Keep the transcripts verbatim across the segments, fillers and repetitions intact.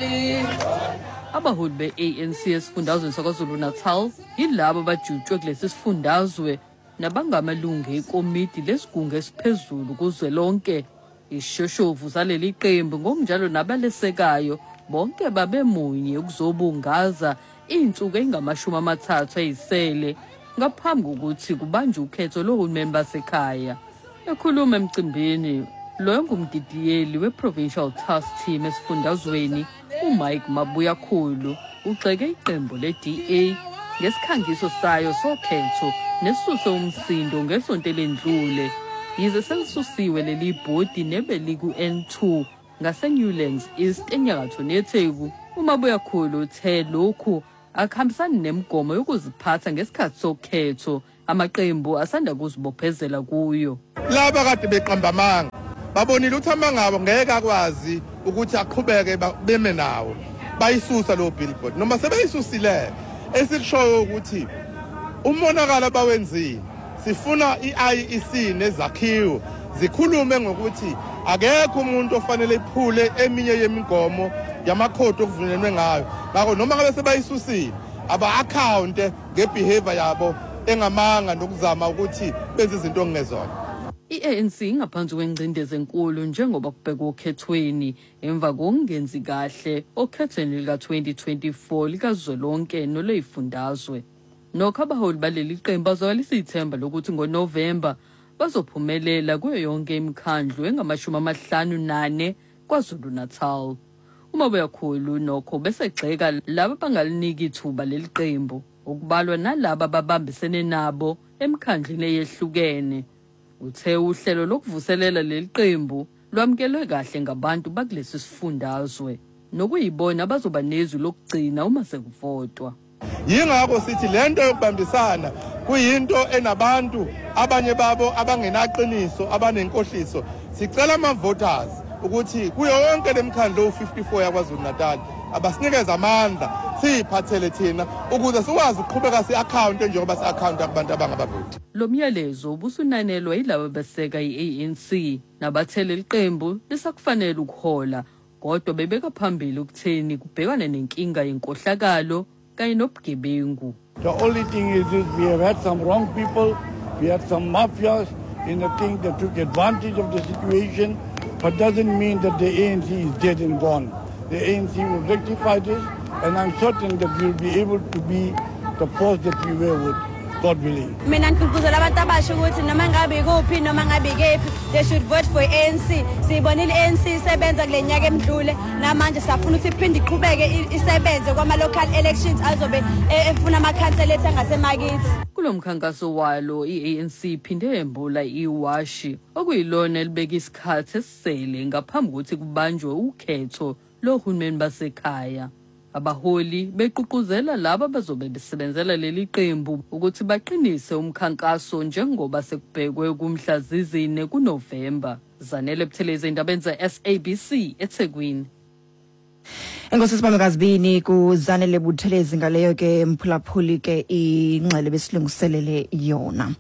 Mali. Abaholi be-A N C esifundazweni saKwaZulu-Natal yilabo abajutshwe kulesi sifundazwe nabangamalungu ekomiti lesigungu esiphezulu kuzwelonke. Ishoshovu zaleli qembu ngokunjalo nabalesekayo bonke babemunye ukuzobungaza iy'nsuku ey'ngamashumi amathathu ey'sele ngaphambi kokuthi kubanjwe ukhetho lohulumeni basekhaya. Ekhuluma emcimbini, loyo ngumdidiyeli we-Provincial Task Team esifundazweni, uMike Mabuyakhulu, ugxeke iqembu le-D A ngesikhangiso sayo sokhetho nesisuse umsindo ngesonto elendlule. Yize selisusiwe leli bhodi nebeliku-N two ngaseNewlands East enyakatho neTheku, uMabuyakhulu uthe lokhu akuhambisani nemigomo yokuziphatha ngesikhathi sokhetho amaqembu asanda kuzibophezela kuyo. Laba kade beqamba amanga babonile ukuthi amanga abo ngeke akwazi ukuthi aqhubeke beme nawo, bayisusa lo billboard. Noma sebeyisusile, esikushoyo ukuthi umonakalo abawenzile, sifuna i-I E C nezakhiwo zikhulume ngokuthi akekho umuntu ofanele iphule eminye yemigomo yamakhodi okuvunyelwe ngayo. Ngakho noma ngabe sebayisusile, aba-akhawunte nge-behavior yabo engamanga nokuzama ukuthi benze izinto okungezona. I-A N C ingaphansi kwengcindezi enkulu njengoba kubhekwa okhethweni emva kokungenzi kahle okhethweni lika-twenty twenty-four likazwelonke nolwey'fundazwe. Nokho abaholi baleli qembu bazwakalisa ithemba lokuthi ngoNovemba bazophumelela kuyo yonke imikhandlu engamashumi amahlanu nane KwaZulu-Natal. UMabuyakhulu nokho besegxeka laba abangaliniki ithuba leli qembu, okubalwa nalaba ababambisene nabo emikhandlwini eyehlukene. Uthe uhlelo lokuvuselela leli qembu lwamukelwe kahle ngabantu bakulesi sifundazwe, nokuyibona abazoba nezwi lokugcina uma sekuvotwa. Yingakho sithi lento yokubambisana kuyinto enabantu abanye babo abangenaqiniso, abanenkohliso. Sicela ama-voters ukuthi kuyo yonke lemikhandlu ewu-fifty-four yaKwaZulu Natal abasinikeze amandla, siyiphathele thina ukuze sikwazi ukuqhubeka si-akhawunte njengoba si-akhawunta kubantu abangabavoti. Lo myalezo ubusunanelwa yilabo beseka i-A N C nabathe leli qembu lisakufanele ukuhola, kodwa bebeka phambili ukutheni kubhekane nenkinga yenkohlakalo kanye nobugebengu. The only thing is this, we have had some wrong people, we had some mafias in the thing that took advantage of the situation, but doesn't mean that the A N C is dead and gone. The A N C will rectify this, and I'm certain that we'll be able to be the force that we were with, God willing. Mina ngigqugquzela abantu abasha ukuthi noma ngabe ikuphi, noma ngabe ikephi, they should vote for A N C. Siyibonile i-A N C isebenza kule nyaka emdlule, namanje siyafuna ukuthi iphinde iqhubeke i- isebenze kwama-local elections azobe e- efuna amakhansela ethu angasemakithi. Kulo mkhankaso walo, i-A N C iphinde yembula iwashi okuyilona elibeka isikhathi esisele ngaphambi kokuthi kubanjwe ukhetho lohulumeni basekhaya. Abaholi begqugquzela laba abazobe besebenzela leli qembu ukuthi baqinise umkhankaso njengoba sekubhekwe kumhla zizine kuNovemba. Zanele Buthelezi, endabeni ze-S A B C eThekwini. Enkosi sibamekazibini kuZanele Buthelezi ngaleyo ke, mphulaphuli, ke ingxele besilungiselele yona.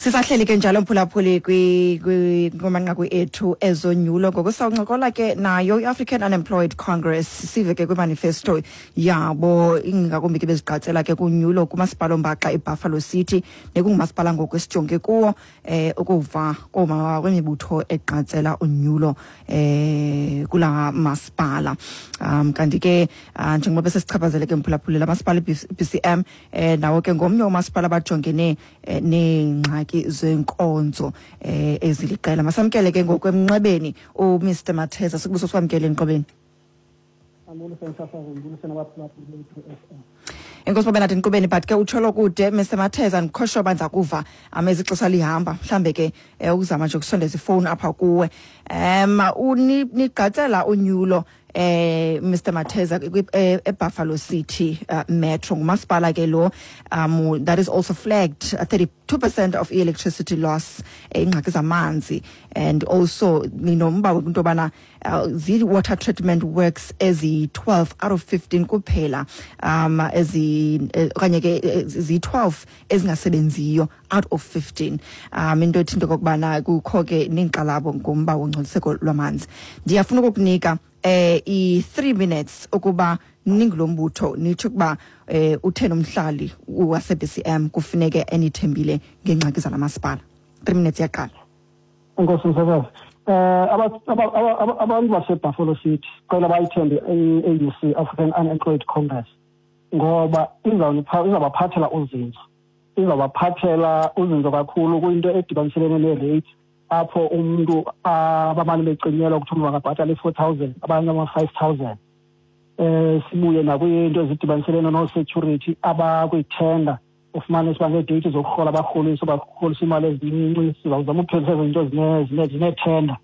Sisahleli ke njalo, mphulaphuli, kumanqaku ethu ezonyulo. Ngoku sawuncokola ke nayo i-African Unemployed Congress, sive ke kwimanifesto yabo, ingakumbi ke bezigqatsela ke kunyulo kumasipala ombaxa iBuffalo City, nekungumasipala ngoku esijonge kuwo eh ukuva kooma kwemibutho egqatsela unyulo eh kula masipala. um kanti ke uh, njengoba besesichaphazele ke, mphulaphuli, la masipala i-B C M eh nawo ke ngomnye womasipala abajongene eh, neengxaki zenkonzo eh eziliqela. Masamkele ke ngokwemnxebeni uMr Matheza. Sikubuso sikwamkele emnxebeni. Ambulise msasazi, ngibulise nabaphulaphuli bethu F M. Enkosi babe nathi nkqubeni, but ke utsholo kude, Mister Matheza, ndikhosho uba ndiza kuva amezi ixesha lihamba, mhlambe ke eh, ukuzama nje ukusondeza ifowuni apha kuwe. um nigqatsela unyulo eh Mister Matheza eh, eBuffalo City uh, Metro, ngumasipala ke lo um that is also flagged uh, thirty-two percent of electricity loss, eh, ingxaki zamanzi, and also ninomba into yobana uh, zi-water treatment works ezi-twelve out of fifteen kuphela um ezi okanye ke ziyi-twelve ezingasebenziyo out of fifteen, um into ethi into okokubana kukho ke neenkxalabo ngomba wongcoliseko lwamanzi. Ndiyafuna ukukunika eh i three minutes ukuba ningulombutho nitsho ukuba eh uthe nomhlali wase B C M kufuneke enithembile ngengxaki zalamasipala. three minutes yaqala. Enkosi msasazi. Eh abantu base Buffalo City cela bayithembe i-A U C, African Unemployed Congress, ngoba izawubaphathela uzinzo. Izawubaphathela uzinzo kakhulu kwinto edibaniselene ne-rate apho umuntu abamane becinyelwa ukuthi umuntu angabhatala i-four thousand abanye ama-five thousand. Eh sibuye nakwinto ezidibaniselene no-security abakwithenda ufumane siba ngeedate zokurhola abarholisa barholisa imali ezincinci. Sizawuzama ukuphelisa izinto zinethenda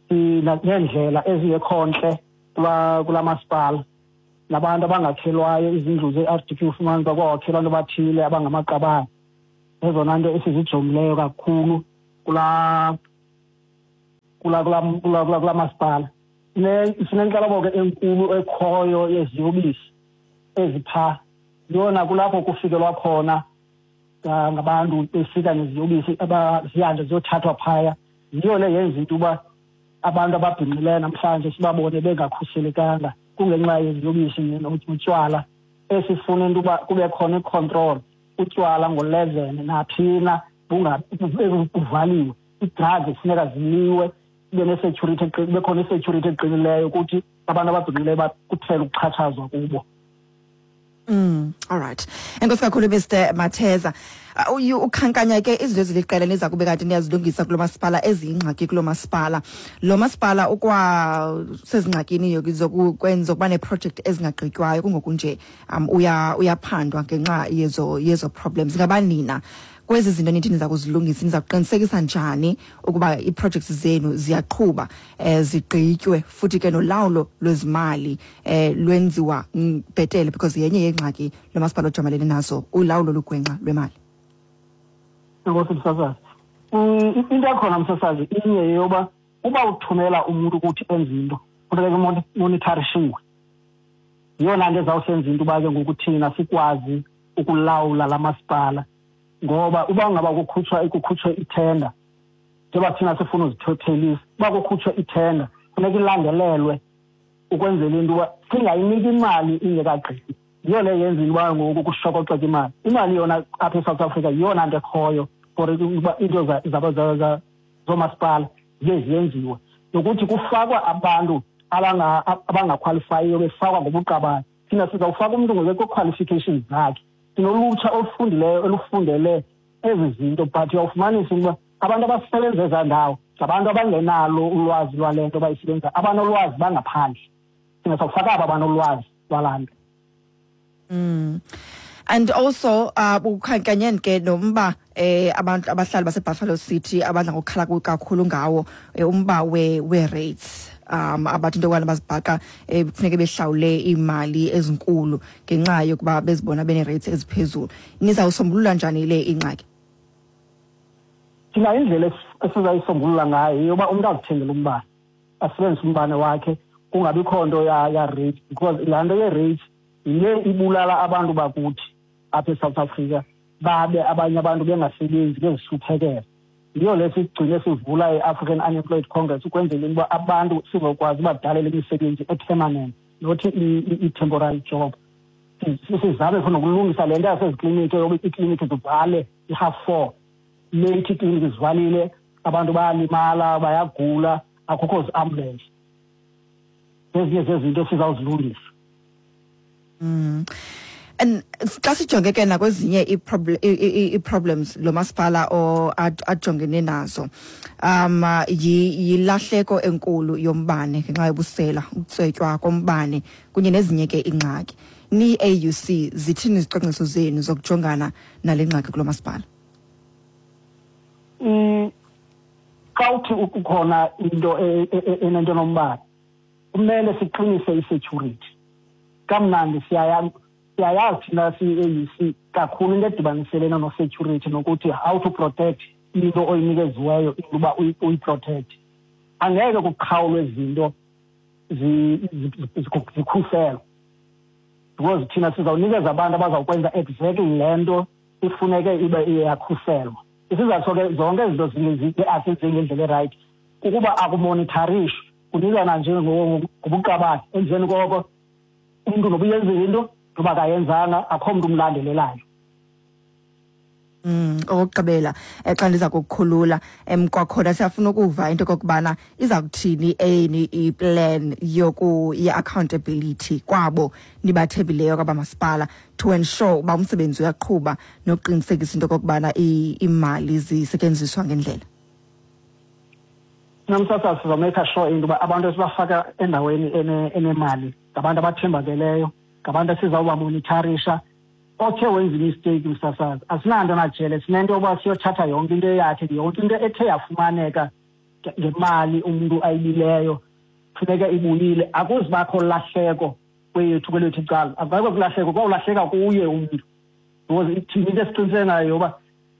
neendlela ezingekho ntle kula masipala nabantu abangakhelwayo izindlu ze-R D P ufumane uba kwawakhelwa abantu abathile abangamaqabane. Ezona nto esizijongileyo kakhulu kula kula kula kula kula masipala. Sinenkxalabo ke enkulu ekhoyo yeziyobisi ezipha yona kulapho kufikelwa khona ngabantu befika neziyobisi abazihamba ziyothathwa phaya. Yiyo le yenza into uba abantu ababhinqileyo namhlanje sibabone bengakhuselekanga kungenxa yeziyobisi notywala. Esifuna into uba kube khona i-control, utywala ngo-eleven naphina bungavaliwe, ii-drugs kufuneka ziliwe, kube ne-security, kube khona i-security eqinileyo ukuthi abantu ababhinqileyo kuphele ukuxhatshazwa kubo. Mm, all right. Enkosi kakhulu Mister Matheza. Ukhankanya ke izinto eziliqela niza kube kanti niyazilungisa kulo masipala eziyingxaki kulo masipala. Lo masipala ukwa sezingxakini zokwenza ukuba neproject ezingagqitywayo kungokunje um uya uyaphandwa ngenxa yezo yezo problems. Ngaba nina kwezi zinto nithi niza kuzilungisa niza kuqinisekisa njani ukuba iprojects zenu ziyaqhuba eh zigqitywe futhi ke nolawulo lwezimali eh lwenziwa bhetele, because yenye yengxaki lo masipala ojamelene nazo ulawulo lugwenxa lwemali? Enkosi msasazi. Into ekhona msasazi inye yoba uba uthumela umuntu ukuthi enze into kufuneka monitorishiwe. Yiyona nto ezawusenza into uba ke ngoku thina sikwazi ukulawula la masipala, ngoba uba ngaba kukhutshwa kukhutshwe ithenda, njengoba thina sifuna uzithothelisa, uba kukhutshwe ithenda funeka ilandelelwe ukwenzela into uba singayiniki imali ingekagqibi. Yiyo le yenza into uba ngoku kushokoxeka imali. Imali yona apha eSouth Africa yiyona nto ekhoyo for uba into zoomasipala ziye ziyenziwe, nokuthi kufakwa abantu abangakhwalifayiyo befakwa ngobuqabane. Thina sizawufaka umntu ngokwe-qualifications zakhe. Sinolutsha olufundileyo olufundele ezi zinto, but uyawufumanisa ukuba abantu abasebenza ezaa ndawo ngabantu abangenalo ulwazi lwale nto bayisebenza, abanolwazi bangaphandle. Thina sawufaka aba banolwazi lwalaa nto. Mm. And also uh ukhankanyeni ke nomba eh abantu abahlali base Buffalo City abadla ngokukhala kakhulu ngawo umba we we rates um abathi into yokubana bazibhaqa kufuneke behlawule imali ezinkulu ngenxa yokuba bezibona bene rates eziphezulu. Nizawusombulula njani le ingxaki? Thina indlela esizayisombulula ngayo yoba umuntu azithengele umbane, asebenzise umbane wakhe, kungabikho nto ya ya rate, because laa nto ye-rate yile ibulala abantu bakuthi apha eSouth Africa, babe abanye abantu bengasebenzi bezihluphekela. Yiyo le sigcine sivula i-African Unemployed Congress ukwenzela ukuba abantu sizokwazi ubadalela imisebenzi e-permanent, not i-temporary job. Sizame funa ukulungisa le nto yasezikliniki yoba iikliniki zivale i-half four, late iikliniki zivalile, abantu bayalimala, bayagula, akukho zi-ambulance. Ezinye zezinto esizawuzilungisa. Mm. And xa sijonge ke nakwezinye ii-problems lo masipala ajongene nazo, um yilahleko enkulu yombane ngenxa yobusela, ukutswetywa kombane kunye nezinye ke iingxaki. Ni-A U C zithini izicwangciso zenu zokujongana nale ngxaki kulo masipala? Xa uthi kukhona into enento nombane, kumele siqinise i-security. Kamnandi siyaya siyayazi thina siyi-A U C kakhulu into edibaniselene no-security nokuthi how to protect into oyinikeziweyo into uba uyiprotect. Angeke kuqhawulwe izinto zikhuselwe, because thina sizawunikeza abantu abazawukwenza exactly le nto ifuneke ibe iyakhuselwa. Isizathu ke zonke izinto asenziwe ngendlela erayithi kukuba akumonitharishwa. Kunikana nje ngobuqabane, emveni koko umntu noba uyenzile into noba akayenzanga, akho mntu umlandelelayo. Mm, okokugqibela xa ndiza kukukhulula, um kwakhona siyafuna ukuva into okokubana iza kuthini eni iplan yoku ye-accountability kwabo nibathembileyo kwabamasipala to ensure uba umsebenzi uyaqhuba nokuqinisekisa into okokubana iimali zisetyenziswa ngendlela. Namsasa sizomake sure into yoba abantu esibafaka endaweni enemali ngabantu abathembakeleyo, ngabantu esizawubamonitharisha. Othe wenza imisteyiki msasazi, asinanto najele, sinento yoba siyothatha yonke into yakhe, yonke into ethe yafumaneka ngemali umntu ayibileyo funeka ibuyile. Akuzibakho lahleko kwethu kwelethu icala, akubakho kulahleko, kwawulahleka kuye umntu. Because thina into esiqiniseke ngayo yoba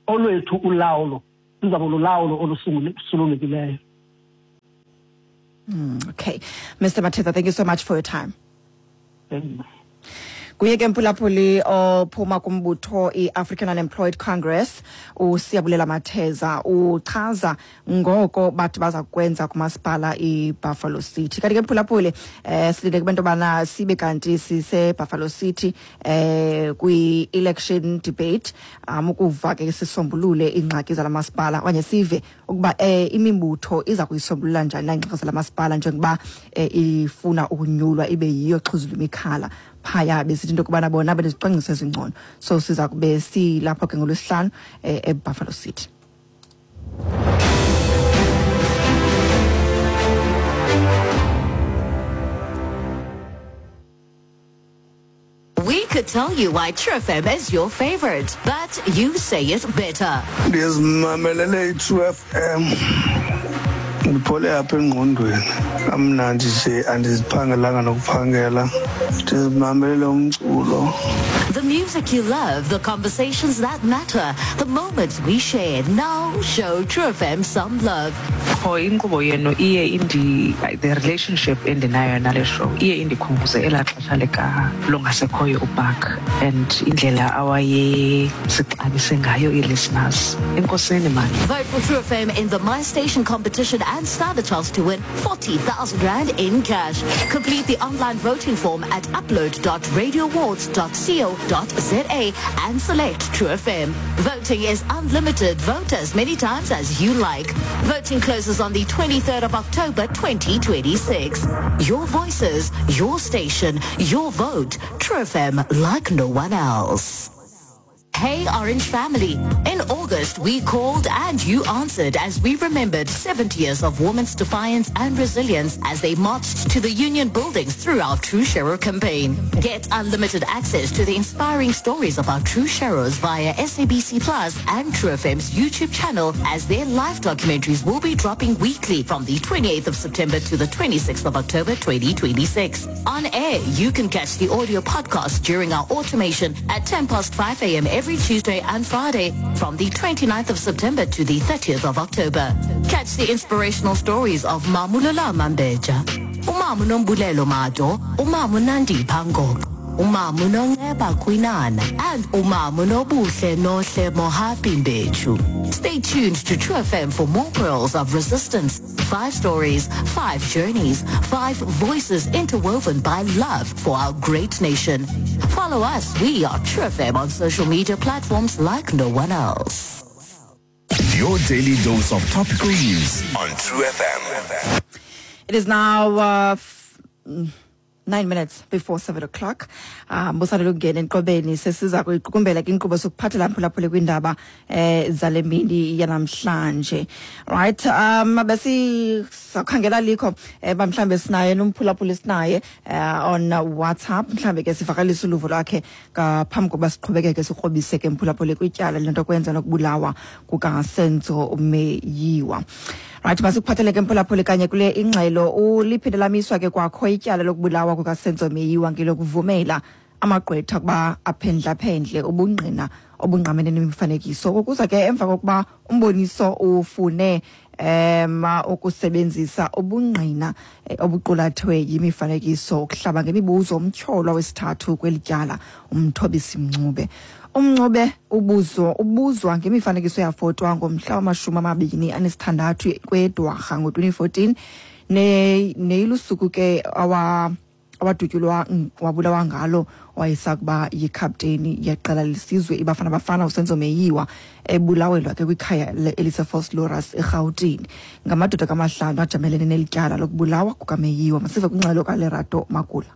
olwethu ulawulo luzawube lulawulo olusulungekileyo. Mm, okay. Mister Mathetha, thank you so much for your time. Thank you. Kuye ke mphulaphuli ophuma kumbutho i-African Unemployed Congress, uSiyabulela Matheza, uchaza ngoko bathi baza kwenza kumasipala iBuffalo City. Kanti ke mphulaphuli, eh silinde kubantu bana sibe kanti sise Buffalo City eh kwi-election debate, um ukuva ke sisombulule iingxaki zalamasipala okanye sive ukuba eh imibutho iza kuyisombulula njani na iingxaki zalamasipala njengoba eh, ifuna ukunyulwa ibe yiyo xhuzula imikhala phaya, besithi into yokubana bona benezicwangciso ezingcono. So siza kube silapho ke ngolwesihlanu eh, eBuffalo City. We could tell you why True F M is your favorite, but you say it better. Ndizimamelele i-True F M. Ndiphole apha engqondweni, kamnandi nje, andiziphangelanga nokuphangela, ndizimamelele umculo. The music you love, the conversations that matter, the moments we share. Now show True F M some love. Qho inkqubo yenu iye indi, the relationship endinayo nale show iye indikhumbuze elaa xesha lika longasekhoyo uBark and indlela awayesixabise ngayo ii-listeners. Enkosini man. Vote for True F M in the My Station competition and stand a chance to win forty thousand rand in cash. Complete the online voting form at upload dot radio awards dot co dot za and select True F M. Voting is unlimited. Vote as many times as you like. Voting closes on the twenty-third of October twenty twenty-six. Your voices, your station, your vote. True F M, like no one else. Hey Orange Family. In August, we called and you answered as we remembered seventy years of women's defiance and resilience as they marched to the union buildings through our True Sharer campaign. Get unlimited access to the inspiring stories of our True Sharers via S A B C Plus and True F M's YouTube channel, as their live documentaries will be dropping weekly from the twenty-eighth of September to the twenty-sixth of October twenty twenty-six. On air, you can catch the audio podcast during our automation at ten past five a.m. every Tuesday and Friday from the twenty-ninth of September to the thirtieth of October. Catch the inspirational stories of Mamulola Mambeja, Umamu Nombulelo Mado, Umamu Nandi Pangok, Umamu Nongeba Kwinana, and Umamu Nobuhle Nohle Mohapi Mbechu. Stay tuned to True F M for more pearls of resistance. Five stories, five journeys, five voices interwoven by love for our great nation. Follow us. We are True F M on social media platforms like no one else. Your daily dose of topical news on True F M. It is now uh, f- nine minutes before seven o'clock. Um, busandula ukungena enqobeni, sesiza kuyiqukumbela ke inkqubo sokuphathela mphulaphuli kwindaba eh zale mini yanamhlanje. Right, um besi sakhangela likho eh mhlambe sinaye nomphulaphuli sinaye on WhatsApp, mhlambe ke sivakalisa uluvo lwakhe ngaphambi kokuba siqhubekeke sikrobise ke mphulaphuli kwityala lento kwenza nokubulawa kukaSenzo Meyiwa. Right, masikuphathele ke mphulaphuli kanye kule ingxelo uliphinde lamiswa ke kwakho ityala lokubulawa kukaSenzo Meyiwa ngelokuvumela amagqwetha kuba aphendla-phendle ubungqina obungqamene nemifanekiso. Ukuza ke emva kokuba umboniso ufune em ukusebenzisa ubungqina obuqulathwe yimifanekiso ukuhlaba ngemibuzo umtyholwa wesithathu kweli tyala uMthobisi Mncube. Umncube ubuzo ubuzwa ngemifanekiso yafotwa ngomhla wamashumi amabini anesithandathu kweDwarha ngo-twenty fourteen Ne neyilusuku ke awa awadutyulwa wabulawa ngalo wayesakuba yikhapteni yeqela lesizwe iBafana Bafana uSenzo Meyiwa ebulawelwa ke kwikhaya eliseVosloorus eRhawutini. Ngamadoda kamahlanu ajamelene nelityala lokubulawa kukaMeyiwa. Masive kwingxelo kaLerato Makula.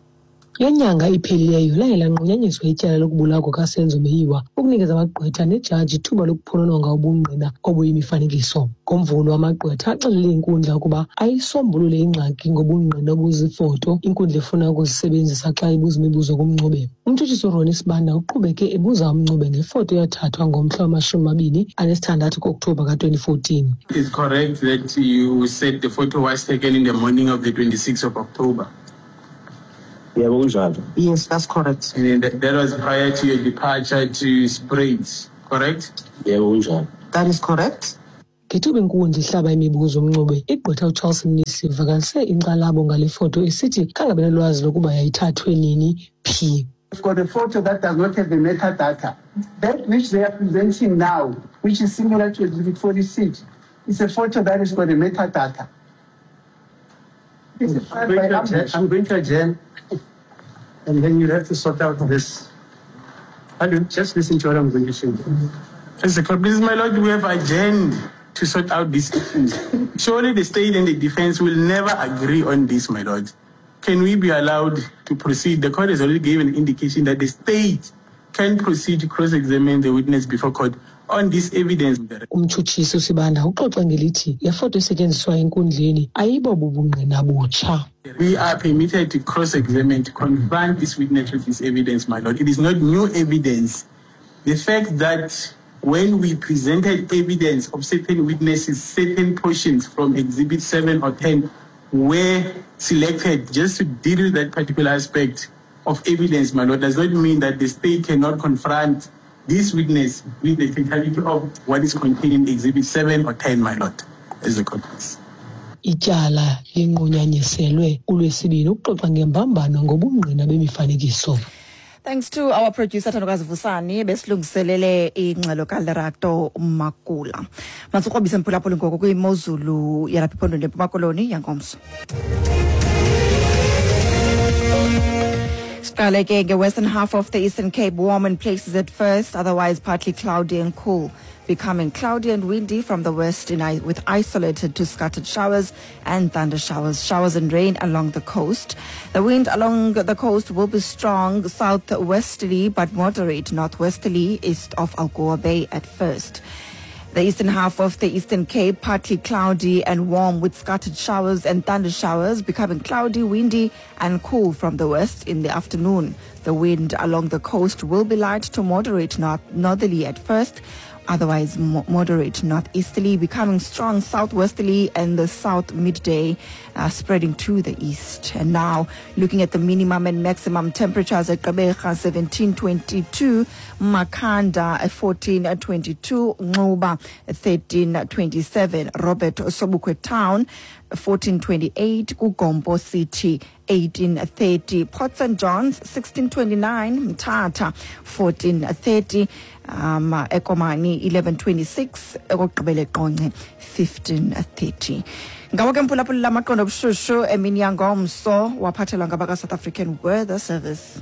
Le nyanga iphelileyo laye lanqunyanyiswa ityala lokubulawa kukaSenzo Meyiwa ukunikeza amagqwetha nejaji ithuba lokuphonononga ubungqina obuyimifanekiso. Ngomvulo amagqwetha axelele inkundla ukuba ayisombulule ingxaki ngobungqina obuzifoto inkundla efuna ukuzisebenzisa xa ibuza imibuzo kuMncube. Umtshutshisi uRonnie Sibanda uqhubeke ebuza uMncube ngefoto eyathathwa ngomhla wamashumi amabini anesithandathu ku-Okthobha ka-twenty fourteen. It's correct that you said the photo was taken in the morning of the twenty-sixth of October. Yebo, kunjalo. Yes, that's correct. And then that, that was prior to your departure to Springs, correct? Yebo, kunjalo. That is correct. Ngethuba inkundla ihlaba imibuzo uMncube, igqwetha uCharles Mnisi ivakalise inkxalabo ngale foto esithi khange benolwazi lokuba yayithathwe nini phi. We've got a photo that does not have the metadata. That which they are presenting now, which is similar to Exhibit forty-six, is a photo that has got a metadata. I'm going to adjourn, I'm going to adjourn, and then you'll have to sort out this. Hello, just listen to what I'm going to say. As the court, my lord, we have adjourned to sort out these issues. Surely the state and the defense will never agree on this, my lord. Can we be allowed to proceed? The court has already given an indication that the state can proceed to cross-examine the witness before court on this evidence. Umtshutshisi uSibanda uxoxa ngelithi le foto esetyenziswa enkundleni ayibo bubungqina butsha. We are permitted to cross-examine, to confront this witness with this evidence, my lord. It is not new evidence. The fact that when we presented evidence of certain witnesses, certain portions from Exhibit seven or ten were selected just to deal with that particular aspect of evidence, my lord, does not mean that the state cannot confront this witness with the totality of what is contained in Exhibit seven or ten, my lord, as the court is. Ityala linqunyanyiselwe ulwesibini ukuxoxa ngembambano ngobungqina bemifanekiso. Thanks to our producer Thandokazi Vusani besilungiselele ingxelo kaLerato Makula. Masikrobise mphulaphuli ngoko kwimozulu yalapha ephondweni leMpuma Koloni yangomso. Siqale ke nge-western half of the Eastern Cape, warm in places at first, otherwise partly cloudy and cool, becoming cloudy and windy from the west in, with isolated to scattered showers and thunder showers, showers and rain along the coast. The wind along the coast will be strong southwesterly but moderate northwesterly east of Algoa Bay at first. The eastern half of the Eastern Cape, partly cloudy and warm with scattered showers and thunder showers, becoming cloudy, windy and cool from the west in the afternoon. The wind along the coast will be light to moderate north northerly at first, otherwise mo- moderate northeasterly, becoming strong southwesterly and the south midday, uh, spreading to the east. And now, looking at the minimum and maximum temperatures at Gqeberha, seventeen twenty-two, Makhanda at fourteen twenty-two, Nxuba thirteen twenty-seven, Robert Sobukwe Town fourteen twenty-eight, Kugompo City eighteen thirty, Port Saint John's sixteen twenty-nine, Mthatha fourteen thirty, um, Ekomani eleven twenty-six, okokugqibela eQonce fifteen thirty. Ngawo ke mphulaphuli lamaqondo obushushu emini yangomso waphathelwa ngabaka South African Weather Service.